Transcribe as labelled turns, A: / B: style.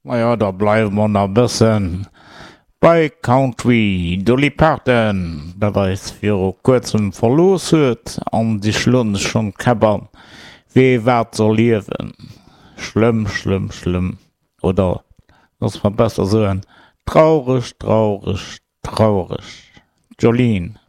A: Majo, da bleiwe mer nach e bëssen bei Country. Dolly Parton, dat eis viru kuerzem verlooss huet, an si schloen sech schonn d'Käpp an, wee wat soll ierwen. Schlëmm, schlëmm, schlëmm. Oder loosse mer besser soen, traureg, traureg, traureg. Jolene.